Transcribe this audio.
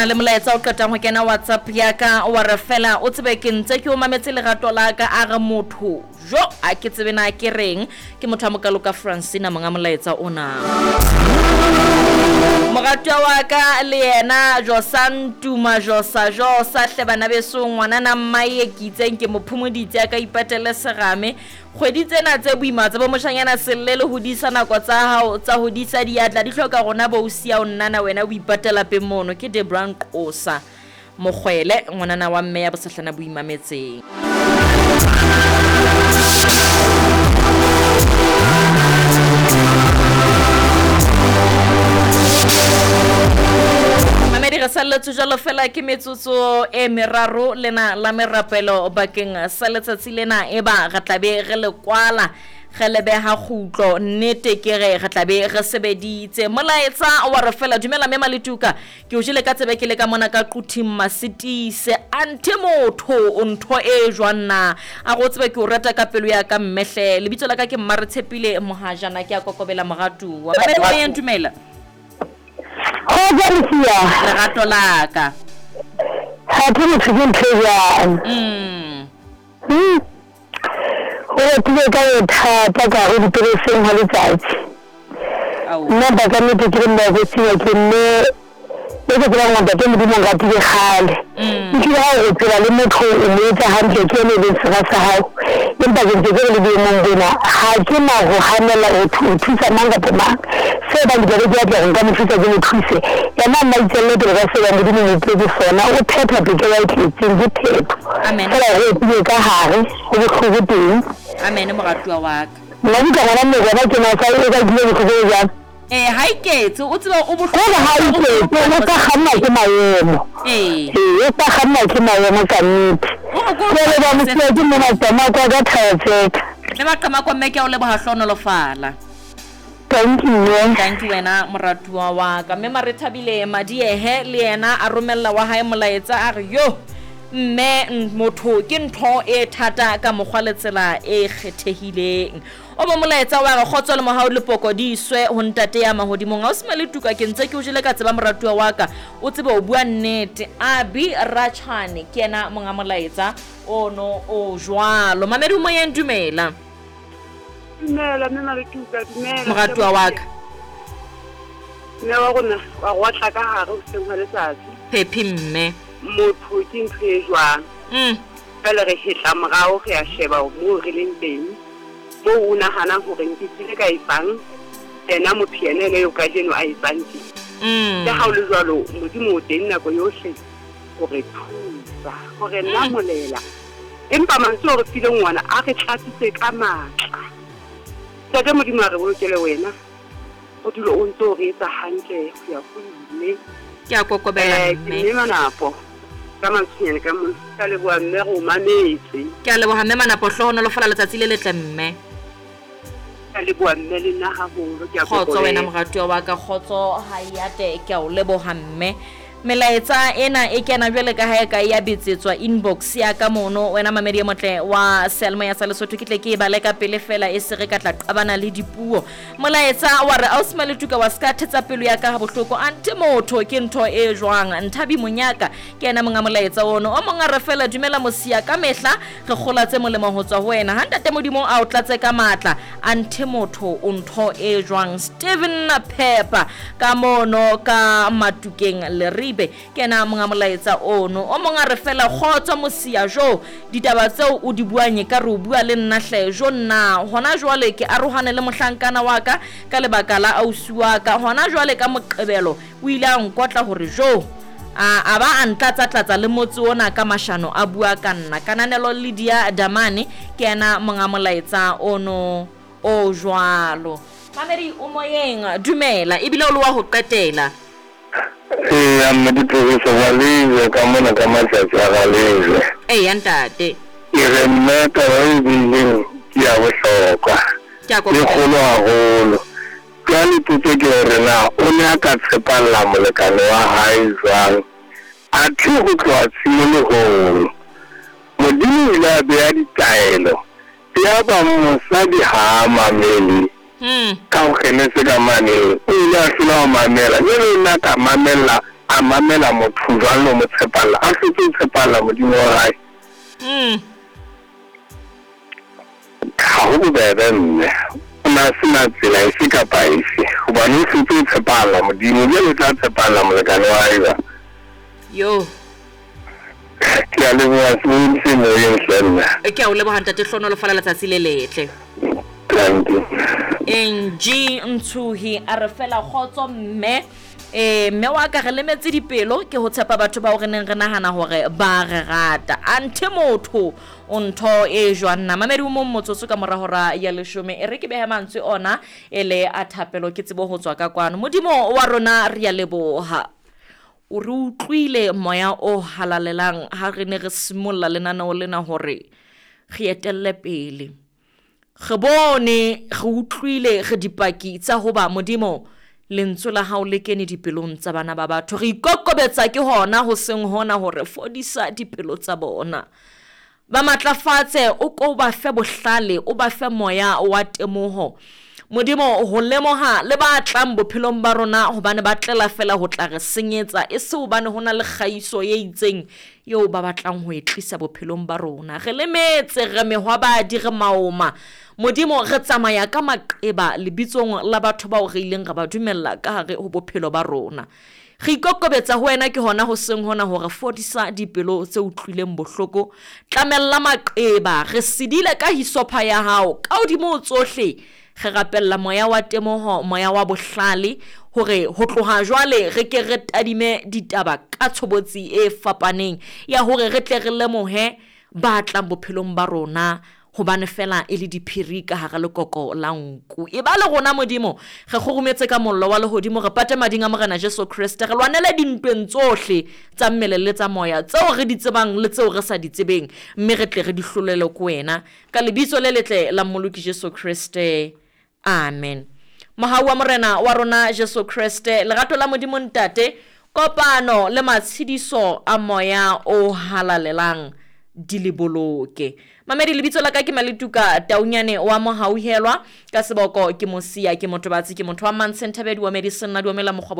na le molaetsa o qetang ho kena WhatsApp ya ka wa re fela o tsebe ke ntse ke o mametse lerato la ka a re motho jo a ke tsebe na ke reng ke motho a mokalo ka Francina monga molaetsa ona. Moratuwa wa ka le yena Josa Ntuma Josa Josa hle bana beso ngwanana mmae ke itseng ke mo phomoditse a ka ipatele serame Kgwedi tsena tse boima tsa bomoshanyana selle le hodisa nako tsa hao tsa hodisa diatla di hloka rona bo o siya o nnana wena o ipata lapeng mono ke Debra Nqosa Mokgwele ngwanana wa mme ya bosehlana bo imametseng. Mamedi re salletswe jalo fela ke metsotso e meraro lena la merapelo bakeng sa letsatsi lena eba re tla be re le kwala re le beha kgutlo nnete ke re re tla be re sebeditse molaetsa wa re fela dumela mme Maletuka ke o jele ka tsebe ke le ka mona ka Quthing Masitise anthe motho o ntho e jwang na a go tsebe ke o rata ka pelo ya ka mme hle lebitso la ka ke Mmaretshepile Mohajana ke a kokobela moratuwa Mamedi moyeng dumela Kgotso Lucia. Lerato la ka. Gathe motho ke ntho e bjang? Mm. Go bapile ka bothata ka go dipereseng ga letsatsi. Nna ba ka nnete ke le mmakotsiwa ke mme e ke tsebang gore Ntate Modimo o nratile kgale. Ehlile ha o re tseba le motho o mo etsa hantle ke yena e leng sera sa hao. Empa ke ntse ke re le boemong bona ga ke na go ganela go o thusa mang kapa mang. Se bang ke tla be ke batla gore nka mo thusa ke mo thuse. Yena a nna a itšwelele pele ka se bang Modimo o mo petse sona. O phetha tokelo a e tletseng, ke phetho. Amen. Fela go opile ka gare, go bohloko teng. Amen moratuwa wa ka. Nna ke tla bona mmele wa ke na sa e ka kile bohloko bo jang. Ee, ha iketse, o tsebe o bohloko. Kore ha iketse, o sa kganna ke maemo. Ee. Ee, o sa kganna ke maemo ka nnete. O re ko Ke a leboha Mosia, ke mme Maqamako a ka Thaba-Tseka. Mme Maqamako mme ke a o leboha hlohonolofala. Tanki mme. Tanki wena moratuwa wa ka. Mme Marethabile Madiehe le yena a romella wa hae molaetsa a re yoh mme motho ke ntho e thata ka mokgwa le tsela e kgethehileng. O mo molaetsa wa re kgotso le mohau le poko di iswe ho ntate ya mahodimong. Ausi Maletuka ke ntse ke o jele ka tseba moratuwa wa ka o tsebe o bua nnete. Abi Rachane ke yena monga molaetsa ono o jwalo. Mamedi o moyeng dumela. Dumela mme Maletuka, dumela. Moratuwa wa ka. Mme wa rona wa go otla ka gare hoseng hwa letsatsi. Phephi mme. Motho ke ntho e jwang? Jwale re hetla morao re a sheba moo re leng teng. Moo o nahanang hore nke kile ka etsang, yena motho yena ena eo kajeno a etsang tje. Le ha ho le jwalo, Modimo o teng nako yohle ho re thusa, ho re namolela. Empa mantswe ao re fileng wona a re tlatsitse ka matla. Ntate Modimo a re bolokele wena, o dule o ntse o re etsa hantle ho ya ho ile. Ke a kokobela Eh, ke mme. mme Manapo ka Mantsonyane ka mona. Ke a leboha mme re o mametse. Ke a leboha mme Manapo, hlohonolofala letsatsi le letle mme. Ke a leboha mme le nna haholo, ke a Kgotso wena kokobela. moratuwa wa ka, kgotso ha e ate, ke a o leboha mme. Melaetsa ena e kena jwale ka ha e ka ya betsetswa inbox ya ka mono wena mamedi e motle wa seyalemoya sa Lesotho ke tle ke e bale ka pele fela e se re ka tla qabana le dipuo. Molaetsa wa re ausi Maletuka wa ska thetsa pelo ya ka ha bohloko ante motho ke ntho e jwang Nthabi Monyaka ke yena monga molaetsa ono. O mong a re fela dumela mosia ka mehla re kgola tse molemo ho tswa ho wena ha ntate Modimo a o tlatse ka matla anthe motho o ntho e jwang Steven Pepper ka mono ka Matukeng Leribe ke yena monga molaetsa ono. O mong a re fela kgotso mosia jo ditaba tseo o di buang e ka re o bua le nna hle jo nna hona jwale ke arohane le mohlankana wa ka ka lebaka la ausi wa ka hona jwale ka Moqebelo o ile a nkotla hore jo a ba a ntlatsa-tlatsa le motse ona ka mashano a bua ka nna. Kananelo Lydia Damane ke yena monga molaetsa ono o jwalo. Mamedi o moyeng dumela ebile o le wa ho qetela. Eya mme Diphoriso Ralejwe ka mona ka matsatsi a Ralejwe. Eya ntate. Ke re mme taba e buileng ke ya bohlokwa. Ke a E kokobela. kgolo haholo. Jwale potso ke hore na o ne a ka tshepalla molekane wa hae jwang athe ho tloha tshimolohong Modimo o ile a beha ditaelo yaba mosadi ha a mamele ka ho Genese ka mane o ile a hlola ho mamela jwale o ne a ka mamella a mamela motho jwang le ho mo tshepalla a hlotse ho tshepalla Modimo wa hae? Ha ho bobebe mme. O ne a se na tsela efe kapa efe, hobane o hlotse ho tshepahalla Modimo, jwale o tla tshepahalla molekane wa hae jwang? Yo. Ke a leboha sebohodi se moyeng hle nna. Ke a o leboha ntate hlonolofala letsatsi le letle. Thank you. Angie Ntshuhi a re fela kgotso mme eh mme wa ka re lemetse dipelo ke ho tshepa batho bao re neng re nahana hore ba re rata anthe motho o ntho e jwang na mamedi o mong motsotso ka mora hora ya leshome e re ke behe mantswe ona e le a thapelo ke tsebo ho tswa ka kwano modimo wa rona re ya leboha O re utlwile Moya o Halalelang ha re ne re simolla lenaneo lena hore re etelle pele. Re bone, re utlwile, re dipaki tsa hoba, Modimo, Lentswe la Hao le kene dipelong tsa bana ba batho. Re ikokobetsa ke hona hoseng hona hore fodisa dipelo tsa bona. Ba matlafatse, o ko o ba fe bohlale, o ba fe moya wa temoho. Modimo, ho lemoha le ba tlang bophelong ba rona, hobane ba tlela feela ho tla re senyetsa, e se hobane ho na le kgaiso e itseng eo ba batlang ho e tlisa bophelong ba rona. Re lemetse, re mehwabadi, re maoma. Modimo, re tsamaya ka maqeba lebitsong la batho bao re ileng ra ba dumella ka hare ho bophelo ba rona. Re ikokobetsa ho wena ke hona hoseng hona hore fodisa dipelo tse utlwileng bohloko, tlamella maqeba, re sedile ka hisopha ya hao, ka hodimo ho tsohle re rapella moya wa temoho, moya wa bohlale, hore ho tloha jwale re ke re tadime ditaba ka tshobotsi e fapaneng ya hore re tle re lemohe ba tlang bophelong ba rona hobane feela e le diphiri ka hara lekoko la nku. Eba le rona, Modimo, re kgurumetse ka mollo wa lehodimo, re pate mading a Morena Jesu Kreste, re lwanele dintweng tsohle tsa mmele le tsa moya, tseo re di tsebang le tseo re sa di tsebeng, mme re tle re di hlolelwe ke wena. Ka Lebitso le letle la Mmoloki Jesu Kreste. Amen. Mohau wa Morena wa rona Jesu Kreste, lerato la Modimo Ntate, kopano le matshediso a Moya o Halalelang di le boloke. Mamedi, lebitso la ka ke Maletuka Taunyane wa Mohauhelwa, ka seboko ke Mosia, ke Motobatsi, ke motho wa Mantshenthabedi wa Medicine, Nna Duomela Mokgwabo.